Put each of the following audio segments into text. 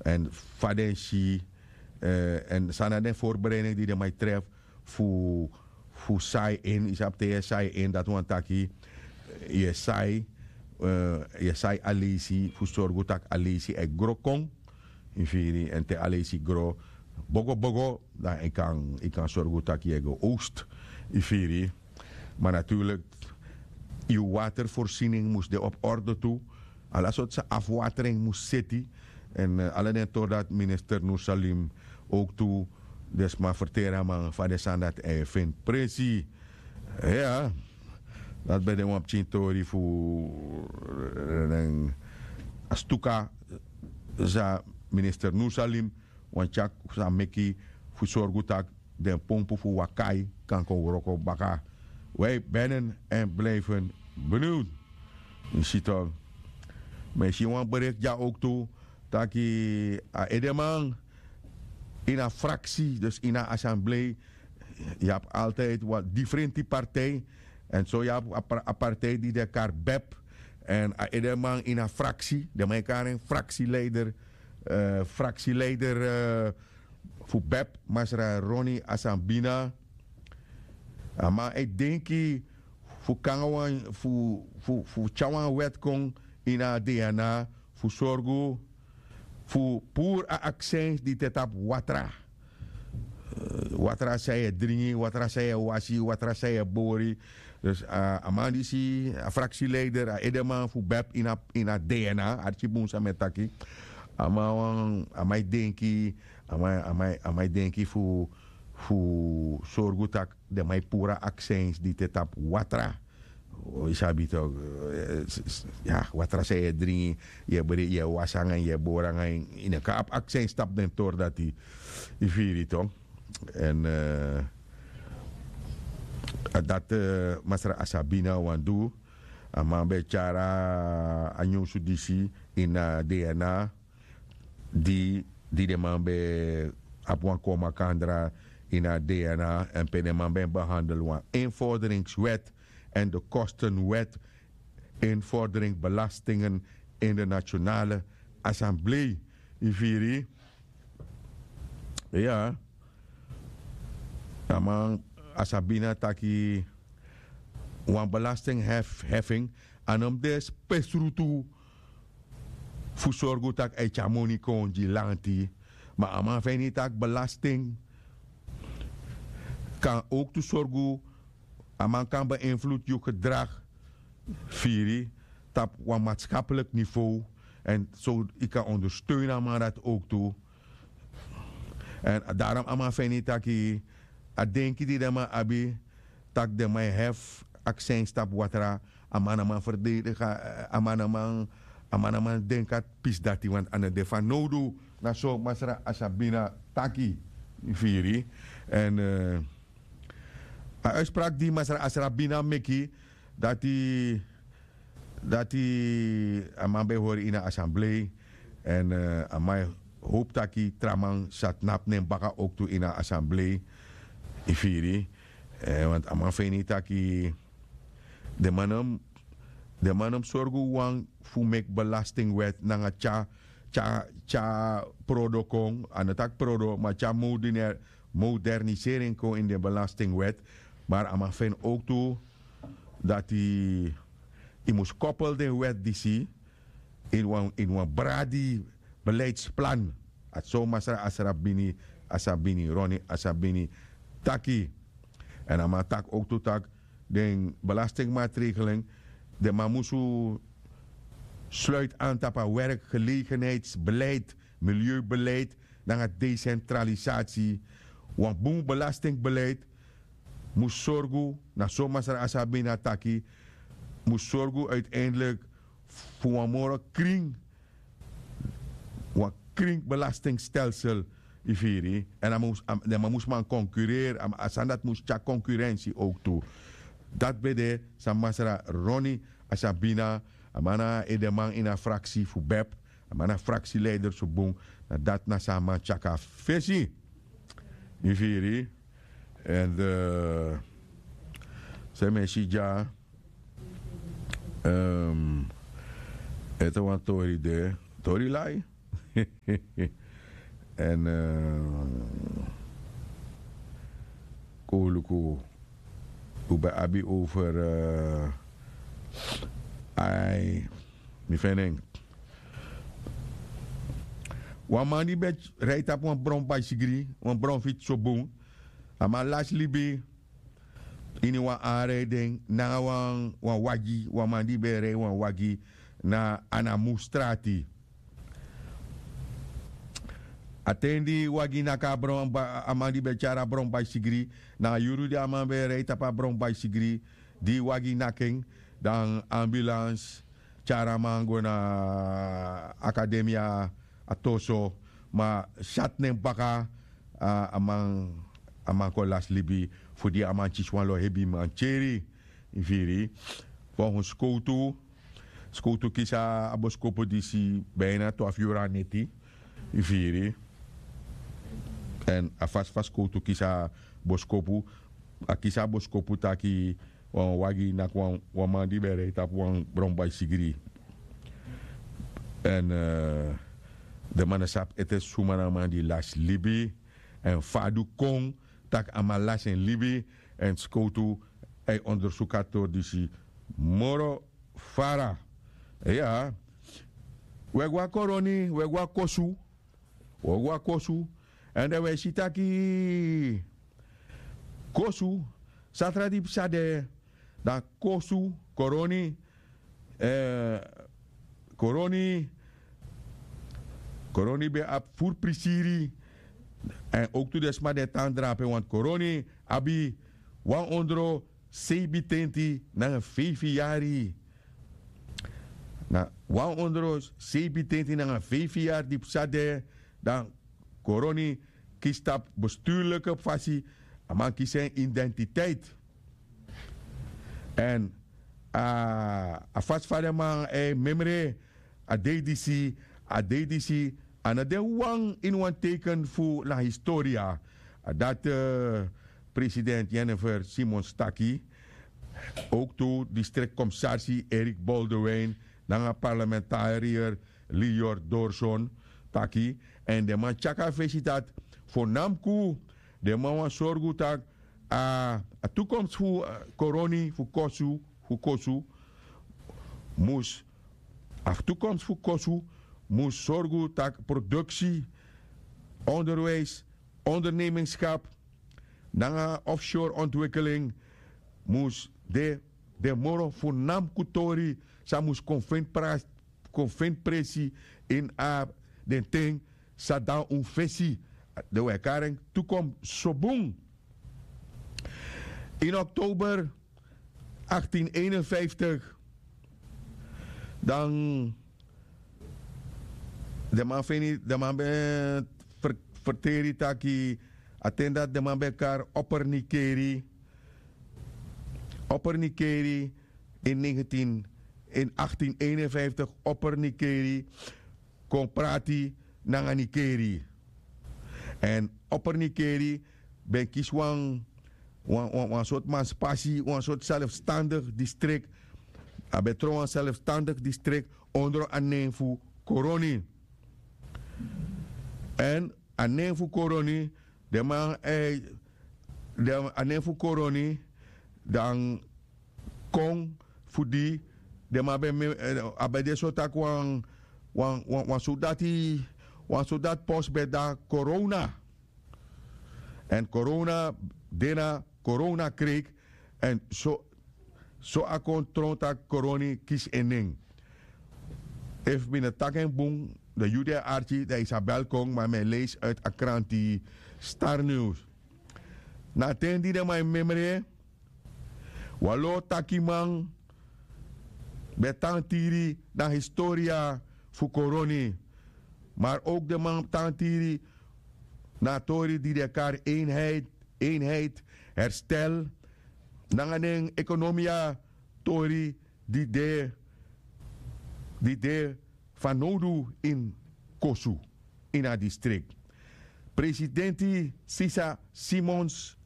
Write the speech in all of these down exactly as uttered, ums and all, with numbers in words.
èn fa den si, èn san na den forbereiding di den man e trefi fu fu sai en yu sabi te yu e sai en dati wani taki yu e sai yu e sai a leisi fu sorgu tak' a leisi e gro kon. Yu firi èn te a leisi gro bogo bogo dan yu kan yu kan sorgu tak' yu e go ost. Yu firi ma naturlik yu waterforsining mus de op orde tu. Ala sortu sa afwatering mus seti èn ala den tori dati minister nursalim owktu den sma ferteri a man fa den sani dati e feni presi. Ya, dati ben de wan pikin tori fu a stuka san minister nursalim wani tyari san meki fu sorgu tak' den pompu fu wakai kan kon wroko baka. Wi ben en en blifen beniwd. Yu si tok'. Ma yu si wan breki dya owktu taki a edeman ini a fraksi dus ini a asamblei yu abi altijdi wan difrenti partij. Èn so yu abi a partij di de kari bep èn a edeman ini a fraksi den man e kari en fraksileider fraksileider fu bep masra roni asambina. A man e denki fu kon nanga wan fu fu tyari wan wèt kon ini a dna fu sorgu fu puru a aksins di te tapu watra. Watra san yu e dringi watra san yu e wasi watra san yu e bori. Dus a man disi a fraksileider a edeman fu bep ini a dna arki bun san mi e taki. A man e denki a man e denki fu fu sorgu tak' den man e puru a aksins di te tapu watra. Yu sabi tok'. Watra san yu e dringi yu e wasi nanga en yu e bori nanga en yu no kan abi aksins tapu den tori dati. Yu firi tok'. Èn a dati masra asabina wani du. A man ben e tyari a nyunsu disi ini a dna di di den man ben abi wan kon makandra ini a dna èn pe den man ben behandel wan inforderingswèt èn de kostenwèt. Inforderingsbelastingen in de nationale assemblée. Yu firi? Ya. A man asabina taki wan belastingheffing a no mus de spesrutu fu sorgu tak' a e tyari moni kon gi lanti. Ma a man feni tak' belasting kan owktu sorgu a man kan beinflutu yu gedrag firi tapu wan matskapelik nivow. Èn so yu kan ondersteun a man dati owktu. Èn darom a man feni taki a denki di den man abi tak' den man e hefi aksins tapu watra. A man na man ferdedigi a man na man a man na man denki a pisi dati wantu a no de fanowdu. Na so masra asabina taki. Firi èn a uitspraak di masra asabina meki dati dati a man ben e hori ini a asamblei. Èn a man e howpu taki tra man sa tnapu nen baka owktu ini a asamblei. Yu firi? Want a man feni taki den man no mus den man no mus sorgu wan fu meki belastingwèt nanga tyari tyari tyari prodo kon a no taki prodo ma tyari modernisering kon ini den belastingwèt. Mar a man feni owktu dati yu mus kopel den wèt disi ini wan ini wan bradi beleidsplan. A so masra asra bini asabini roni asabini taki. Èn a man taki owktu tak' den belastingmaatregelen den man musu sluiti an tapu a werkgelegenheidsbeleid, milieubeleid nanga desentralisati. Wan bun belastingbeleid mus sorgu na so masra asabina taki mus sorgu uiteindelik fu wan moro kring wan kring belastingstelsel. Yu firi èn a mus a den man mus man konkureri a sani dati mus tyari konkurensi owktu. Dati ben de san masra roni asabina a man na edeman ini a fraksi fu bep a man na fraksileider fu bun. Na dati na san a man tyari kon na fesi. Yu firi èn san mi e si dya ete wan tori de tori lai. Èn kon un luku, un ben abi over ai, mi feni en. Wan man di ben rei tapu wan bron baisigri, wan bron fitsi so bun. A man lasi libi ini wan anrei den nanga wan wagi, wan man di ben e rei wan wagi na anamu strati. A ten di wagi naki a bron a man di ben tyari a bron baisigri, na a yuru di a man ben e rei tapu a bron baisigri, di wagi naki en, dan ambulans tyari a man go na akademia, a toso, ma syati nen baka a man a man kon lasi libi, fu di a man kisi wan lo hebi mantyeri. Yu firi? Folgens skowtu, skowtu kisi a boskopu disi bina twafu yuru na neti. Yu firi? Èn a fasi fa skowtu kisi a boskopu, a kisi a boskopu taki wan wagi naki wan man di ben e rei tapu wan bron baisigri. Èn den man no sabi ete suma na a man di lasi libi, èn fa a du kon tak' a man lasi en libi. Èn skowtu e ondersuku a tori disi moro fara. Iya. Wi e go na koroni, wi e go na kosu. Wi e go na kosu. Èn den wi e si taki kosu, satra di psa de, dan kosu, koroni, koroni, koroni ben abi furu prisiri. Èn owktu den sma di e tan drape wantu koroni abi wan ondro seibintenti nanga feifi yari. Na wan ondro seibintenti nanga feifi yari di psa de, dan koroni kisi tapu besturlike fasi, a man kisi en identiteit. Èn a fasi fa den man e memre a dei disi, a dei disi a no de wan ini wan teiken fu na historia. Dati president jennifer simons taki. Owktu distrikti komisarsi erik boldewin nanga parlementarier lior dorson taki. Èn den man tyaki a fesi dati fo namku den man wani sorgu tak' a tukomsi fu koroni fu kosu fu kosu mus a tukomsi fu kosu mus sorgu tak' produksi, onderwijs, ondernemenskap nanga offshore ontwikeling mus de den moro fu namku tori san mus kon feni presi ini a den ten san dan un fesi. Den wi e kari en tukomsi so bun. Ini oktober achttien eenenvijftig dan den man feni den man ben ferteri taki a ten dati den man ben kari oppernikeri. Oppernikeri in negentien in achttien eenenvijftig oppernikeri kon prati nanga nikeri. Èn oppernikeri ben kisi wan wan sortu manspasi wan sortu selfstandig distrik. A ben tron wan selfstandig distrik ondro a nen fu koroni. Èn a nen fu koroni den man e a nen fu koroni dan kon fu di den man ben a ben de so tak' wan wan wan sodati wan sodati pos ben de na korona. Èn korona de na korona kreik. Èn so so a kon tron tak' koroni kisi en nen. Efu mi no taki en bun dan yu de arki dan isabel kon ma mi e leisi uiti a kranti star news. Na a ten di den man e memre wan lo takiman ben tan tiri na historia fu koroni. Mar owk den man tan tiri na a tori di den e kari einheit einheit herstel nanga den ekonomia tori di de di de fanowdu ini kosu ini a distrikti. Presidenti sisa simons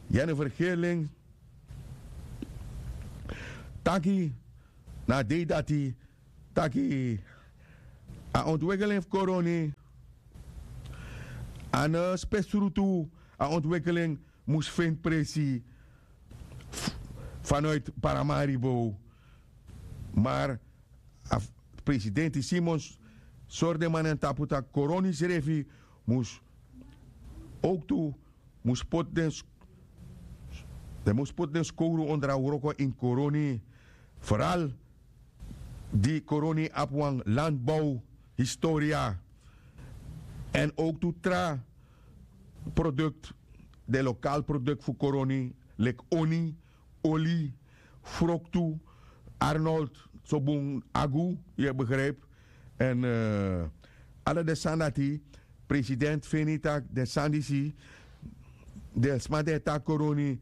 jennifer gerling taki na a dei dati taki a ontwikkeling fu koroni, a no spesrutu. A ontwikkeling mus feni presi fanuiti paramaribo. Mar a presidenti simons sori den man na en tapu tak' koroni srefi mus owktu mus poti den skowru ondra wroko ini koroni. Foral di koroni abi wan landbow historia èn owktu tra produkt, den lokal produkt fu koroni leki oni, oli, froktu, arnold, so bun agu, yu e begripi. Èn ala den sani dati president feni tak' den sani disi den sma di e taki koroni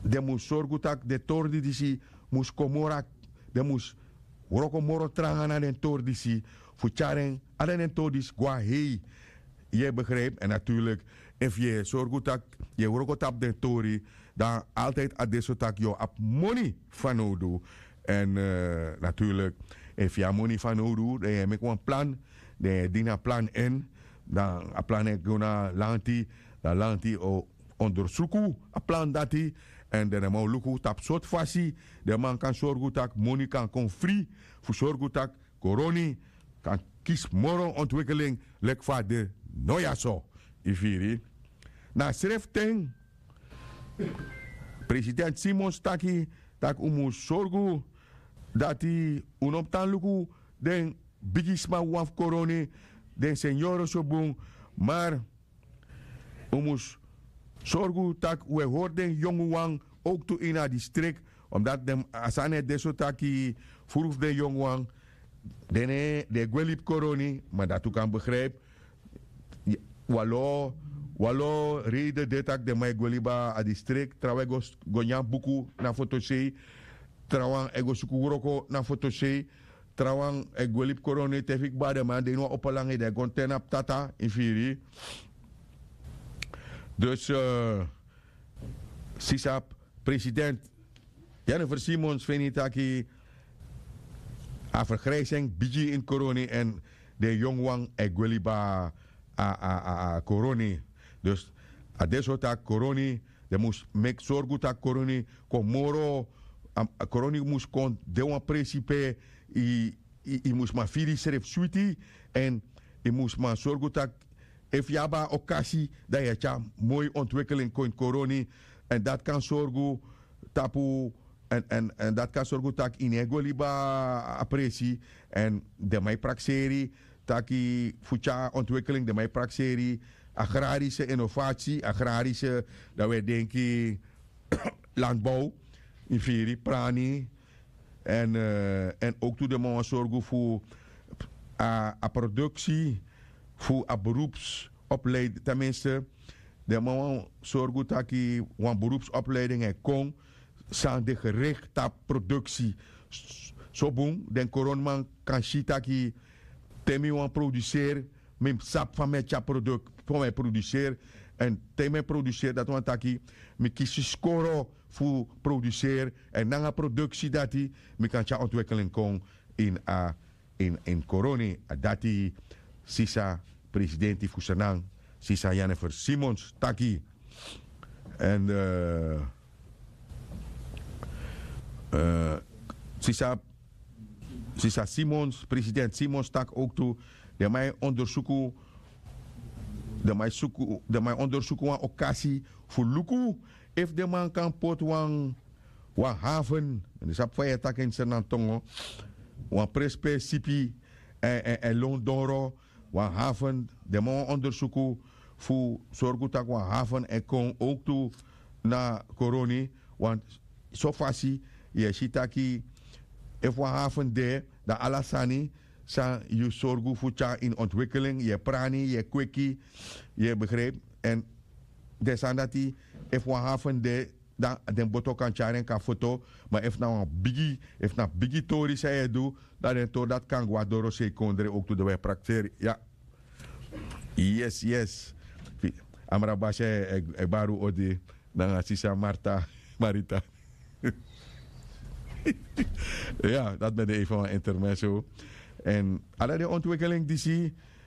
den mus sorgu tak' den tori disi mus kon moro. Den mus wroko moro tranga na den tori disi fu tyari en ala den tori disi go na hei. Yu e begripi èn naturlik efu yu e sorgu tak' yu e wroko tapu den tori dan altidi a de so tak' yu o abi moni fanowdu. Èn naturlik efu yu abi moni fanowdu dan yu e meki wan plan, dan yu e dini a plan en dan a plan e go na lanti. Dan lanti o ondersuku a plan dati èn den man o luku tapu sortu fasi den man kan sorgu tak' moni kan kon fri fu sorgu tak' koroni kan kisi moro ontwikkeling leki fa a de no ya so. Yu firi? Na a srefi ten president simons taki tak' un mus sorgu dati un no mus tan luku den bigisma wan fu koroni, den senyoro so bun. Mar un mus sorgu tak' un e hori den yongu wan owktu ini a distrik. Omdati a sani e de so taki furu fu den yongu wan den e gwe libi koroni ma dati un kan begripi. Wan lo wan lo reide de tak' den man e gwe libi a distrik trawan e go nyan buku na fotosei. Trawan e go suku wroko na fotosei. Trawan e gwe libi koroni te fu yu kba den man de ini wan opo langi den e go na ten na ptata yu firi. Dus sisa president jennifer simons feni taki a fergrijsing bigi ini koroni èn den yongu wan e gwe libi a koroni. Dus a de so taki koroni den mus meki sorgu tak' koroni kon moro. Koroni mus kon de wan presi pe yu mus man firi yusrefi switi. Èn yu mus man sorgu tak' efu yu abi a okasi dan yu e tyari moi ontwikkeling kon ini koroni. Èn dati kan sorgu tapu èn dati kan sorgu tak' yu no e go libi a presi. Èn den man e prakseri taki fu tyari ontwikkeling den man e prakseri agrarische innovatie agrarische dan wi e denki landbow yu firi prani. Èn owktu den man wani sorgu fu a produksi fu a beroepsopleiding ten minste den man wani sorgu taki wan beroepsopleiding e kon san de gerikti tapu produksi. So bun den koroniman kan si taki te mi wani produseri mi mus sabi fa mi e tyari produk fa mi e produseri. Èn te mi e produseri dati wani taki mi kisi skoro fu produseri èn nanga produksi dati mi kan tyari ontwikkeling kon ini a ini koroni. A dati sisa presidenti fu senan sisa jennifer simons taki. Èn sisa sisa simons president simons taki owktu den man e ondersuku den man e ondersuku wan okasi fu luku efu den man kan poti wan wan haven. Mi no sabi fa yu e taki en senan tongo wan presi pe sipi èn lon doro wan haven. Den man wan ondersuku fu sorgu tak' wan haven e kon owktu na koroni. Wan so fasi yu e si taki efu wan haven de dan ala sani san yu sorgu fu tyari ini ontwikkeling yu e prani yu e kweki yu e begripi. Èn den sani dati efu wan haven de dan den boto kan tyari en kon na foto. Ma efu na wan bigi efu na bigi tori san yu e du dan den tori dati kan go na dorosei kondre owktu den wi e prakseri ya. Yes yes. Amra basi e bari un odi nanga sisa marta marita. Ya dati ben de efu wan intermeso. Èn ala den ontwikeling disi